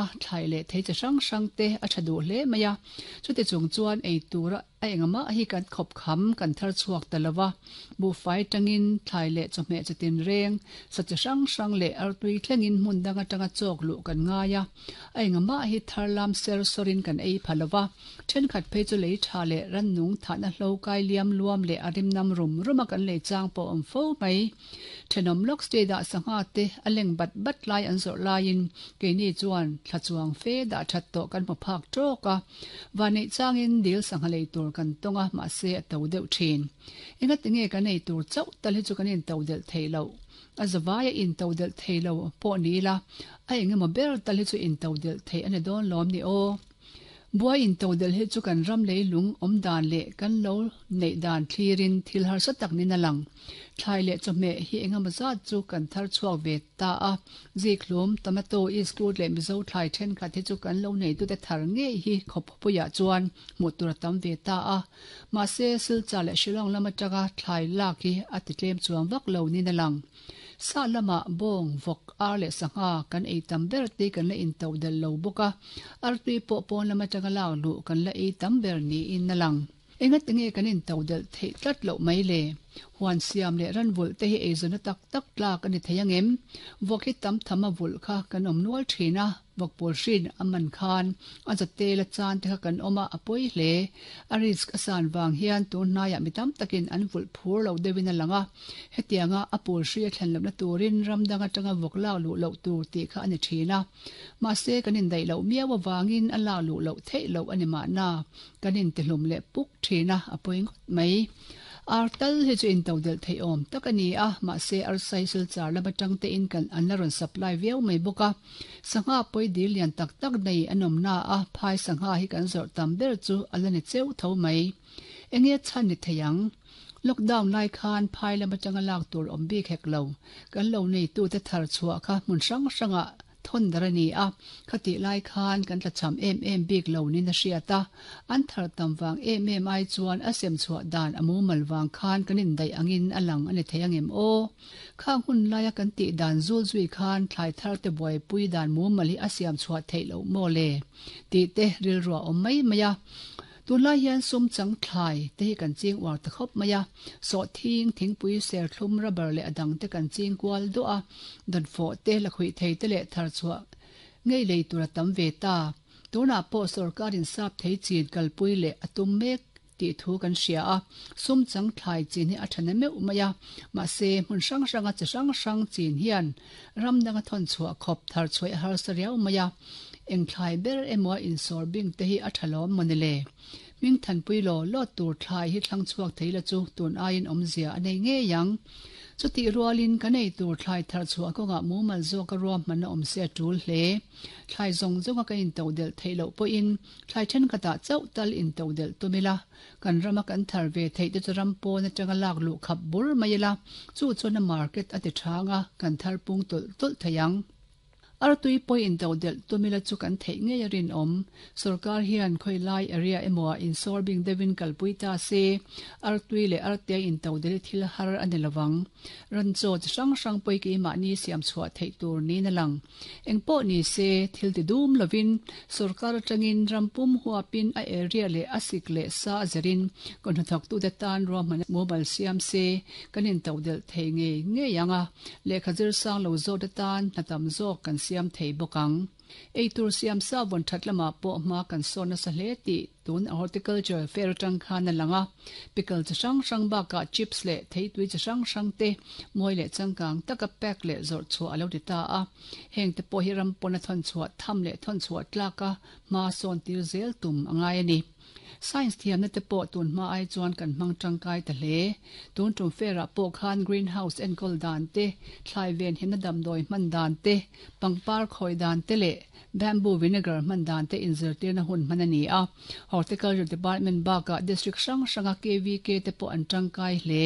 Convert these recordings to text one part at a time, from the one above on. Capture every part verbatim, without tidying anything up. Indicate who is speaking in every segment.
Speaker 1: A thlai leh thei chi hrang hrang te a tha duh hle mai a, chuti chung chuan ei tura a engmah hi kan khawp kham kan thar chhuak ta lova, buhfai tangin thlai leh chawhmeh chitin reng sa chi hrang hrang leh artui thlengin hmun dang atanga chawk luh kan ngai a, a engmah hi thar lam ser sawrin kan ei pha lova, thenkhat phei chu lei tha leh rannung thahna hlo kai liam luam leh a rim nam rum ruma kan lei chang pawh awm fo mai. Thenawm lawk state ah sangha te a leng bat bat lai an zawrh laiin keini chuan thla chuang fe dah that tawh kan hmu phak tawk a, vanneih changin dil sangha lei tur kan tawng a, mahse a to deuh thin. Engati nge kan ei tur chauh tal hi chu kan in to delh thei loh? A zavaia in to delh thei lo pawh ni ila, a engemaw ber tal hi chu in to delh theih a ni dawn lawm ni aw. Buai in to delh hi chu kan ram lei lung awm dan leh kan lo neih dan thlirin thil harsa tak nin a lang. Thlai leh chawhmeh hi engemaw zat chu kan thar chhuak ve ta a, zikhlum, tomato, iskut leh mizo thlai thenkhat hi chu kan lo neitute thar ngei hi khawppuiah chuan hmuh tur a tam ve ta a. Mahse, Silchar leh Shillong lam atanga thlai lak hi a ti tlem chuang vak lo nin a lang. Sa lamah bawng, vawk, ar leh sangha kan ei tam ber te kan la in to delh lo bawk a, artui pawh pawn lam atanga lak luh kan la ei tam ber niin a lang. Engati nge kan in to delh theih tlat loh mai le? Huan siam leh ran vulh te hi eizawnna tak tak tlak a ni thei angem? Vawk hi tam tham a vulh kha kan awm nual thin a, vawk pawl hrin a man khan a zatel a chan te kha kan awm a, a pawi hle. A risk a san vang hian tun hnaiah mi tam takin an vulh phur lo deuhin a lang a, hetianga a pawl hri a thlen lohna turin ram dang atanga vawk lak luh loh tur tih kha a ni thin a. Mahse kan indaih loh miau avangin a lak luh loh theih loh a ni mahna, kan intihlum leh puk thin a, a pawi ngawt mai. Ar tal hi chu in to delh theih awm tak a ni a, mahse arsai Silchar lam atang te in kan an la rawn supply viau mai bawk a. Sangha pawi dil lian tak tak nei an awm na a, phai sangha hi kan zawrh tam ber chu a la ni cheu tho mai. Enge chhan ni thei ang? Lockdown lai khan phai lam atanga lak tur awm bik hek lo, kan lo neitute thar chhuah kha hmun hrang hrangah thawn dar a ni a, khatih lai khan kan tlachham em em bik lo niin a hriat a, an thar tam vang em em ai chuan a sem chhuah dan a mumal vang khan kan indaih angin a lang a ni thei angem aw? Khang hun laia kan tih dan zul zui khan thlai thar te buaipui dan mumal hi a siam chhuah theih loh maw le? Tih te rilru a awm mai mai a. Tunlai hian sum chang thlai te hi kan ching uar ta khawp mai a, sawhthing, thingpui, serthlum, rubber leh a dang te kan ching kual duah a, dawnfawh te, lakhuih thei te leh thar chhuah ngei lei tur a tam ve ta. Tunah pawh sorkarin sap thei chin kalpui leh a tum mek tih thu kan hria a, sum chang thlai chin hi a tha na meuh mai a, mahse hmun hrang hranga chi hrang hrang chin hian ram danga thawn chhuah khawp thar chhuah a harsa riau mai a, eng thlai ber emaw a insawr bing te hi a tha lawm maw ni le? Hming thanpui law law tur thlai hi thlang chhuak thei la chu tun aiin awmzia a nei ngei ang. Chutih rualin kan ei tur thlai thar chhuah kawngah mumal zawka ruahmanna awm se a tul hle. Thlai zawng zawnga kan into delh theih loh pawhin thlai thenkhatah chauh tal into delh tum ila, kan rama kan thar ve theih te chu ram pawn atanga lak luh khap bur mai ila, chu chuan a market a ti thang a, kan thar pung tawlh tawlh thei ang. Artui pawh into delh tum ila chu kan theih ngei a rinawm. Sorkar hian khawi lai area emaw ah insawr bing deuhin kalpui ta se, artui leh artea into delh hi thil har a ni lovang. Ran chaw chi hrang hrang pawh hi keimahni siam chhuah theih tur niin a lang. Engpawh ni se, thil ti dum lovin sorkar atangin ram pum huapin a area leh a sik leh sa a zirin kan hnathawktute tan ruahmanna mumal siam se, kan into delh thei ngei ngei ang a, lehkha zir sang lo zawkte tan hna tam zawk kan siam thei bawk ang. Eitur siam sa vawn that lamah pawh hma kan sawn nasa hle tih tun horticulture fair atang khan a lang a, pickle chi hrang hrang bakah chips leh theitui chi hrang hrang te mawi leh changkang taka pack leh zawrh chhuah a lo ti ta a, heng te pawh hi ram pawna thawn chhuah tham leh thawn chhuah tlaka hma sawn tir zel tum a ngai a ni. Science thiamna te pawh tun hma ai chuan kan hmang tangkai ta hle. Tun tum fair ah pawh khan greenhouse enkawl dan te, thlai ven himna damdawi hman dan te, pangpar khawi dan te leh bamboo vinegar hman dan te inzirtirna hun hman a ni a. Horticulture Department bakah district hrang hranga K V K te pawh an tangkai hle.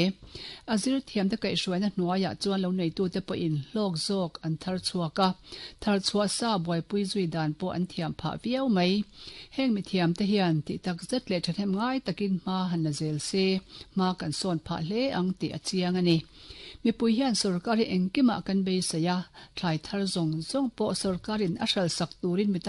Speaker 1: A zir thiamte kaihhruaina hnuaiah chuan lo neitute pawhin hlawk zawk an thar chhuak a, thar chhuah sa buaipui zui dan pawh an thiam phah viau mai. Heng mithiamte hian tih tak zet leh thahnem ngai takin hma han la zel se, hma kan sawn phah hle ang tih a chiang a ni. Mipui hian sorkar hi engkimah kan beisei a, thlai thar zawng zawng pawh sorkarin a hralh sak turin mi